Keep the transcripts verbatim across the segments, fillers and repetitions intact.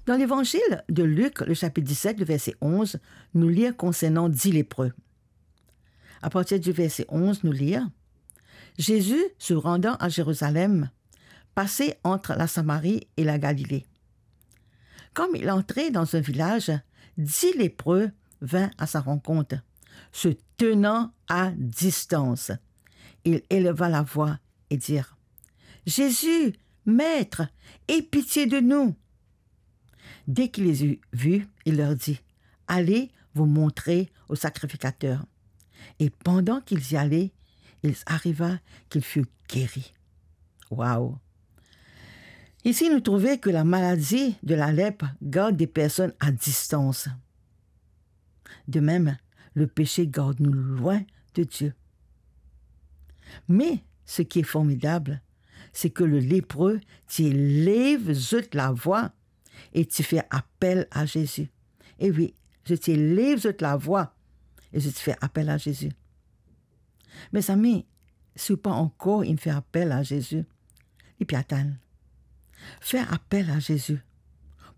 Dan Levanzil de Lik, le sapit diset, le verse onz, nou lir konsernan dis lepre. Apartir di verse onz, nou lir, Zezi, se randan a Zerizalem, pase ant Lasamari e Lagalile. Kan li antre dan enn vilaz, dis lepre vinn a sa rankont, se tenan a distans. Il eleva lavwa e dir, Zezi, Met, ey pitie de nou! Dès qu'il les eut vus, il leur dit, Allez vous montrer au sacrificateur. Et pendant qu'ils y allaient, il arriva qu'ils furent guéris. Waw! Isi, nou trouve ke lamaladi de lalep gard de personn a distans. De mem, lepese gard nou lwin de Die. Me, seki formidab, seki le lepre ti lev zot lavwa e ti fer apel a Zezi. E wi, zot ti lev zot lavwa e zot ti fer apel a Zezi. Mezami, si ou pa ankor inn fer apel a Zezi, li pe atann. Fer apel a Zezi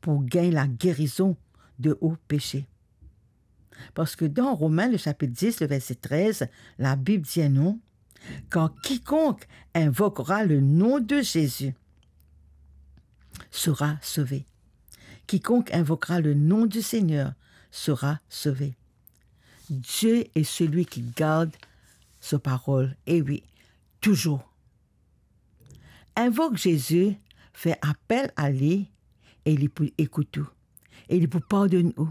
pou gagn lagerizon de ou pese. Parski dan Romin, le sapit dis, le verse trez, Labib dir nou, Car quiconque invoquera le nom de Jésus sera sauvé. Quiconque invoquera le nom du Seigneur sera sauvé. Dieu est celui qui garde sa parol. E wi, touzour. Invok Zezi, fer apel a li, e li pou ekout ou, e li pou pardonn ou,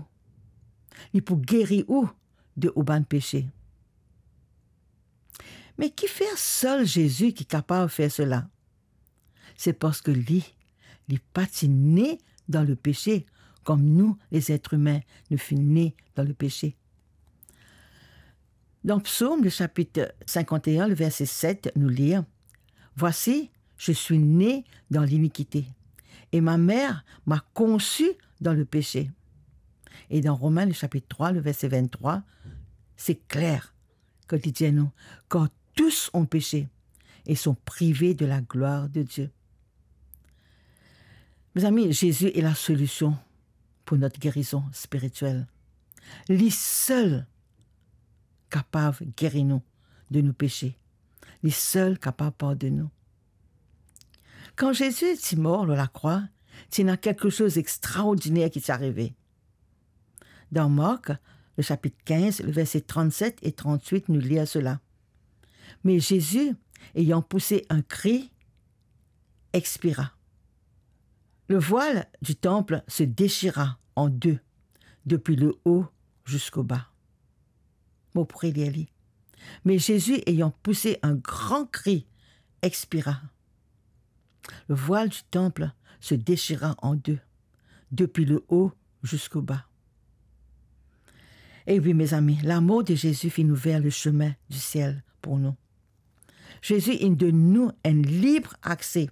li pou geri ou de ou bann pese. Me kifer sel Zezi ki kapav fer sela? Se parski li, li pa ti ne dan lepese, kom nou, lezetrimin, nou finn ne dan lepese. Dan Psom, le sapit sinkant e enn, le verse set, nou lir, Voici, je suis né dans l'iniquité, et ma mère m'a conçu dans le péché. E dan Romin, le sapit trwa, le verse venntrwa, se kler, kot li dir nou, Car tous ont péché et sont privés de la gloire de Dieu. Mezami, Zezi est la solution pour notre guérison spirituelle. Li sel kapav geri nou de nou pese. Li sel kapav pardonn nou. Kan Zezi ti mor lor lakrwa, ti ena kiksoz extraordiner ki ti arive. Dan Mark, le sapit kinz, le verse trannset e tranntwit, nou lir sela. Me Zezi, ayant poussé un cri, expira. Le voile du temple se déchira en deux, depuis le haut jusqu'au bas. Mo pou relir li. Mais Jésus, ayant poussé un grand cri, expira. Le voile du temple se déchira en deux, depuis le haut jusqu'au bas. E wi, mezami, lamor de Zezi finn ouver le chemin du ciel pour nous. Zezi inn donn nou enn lib akse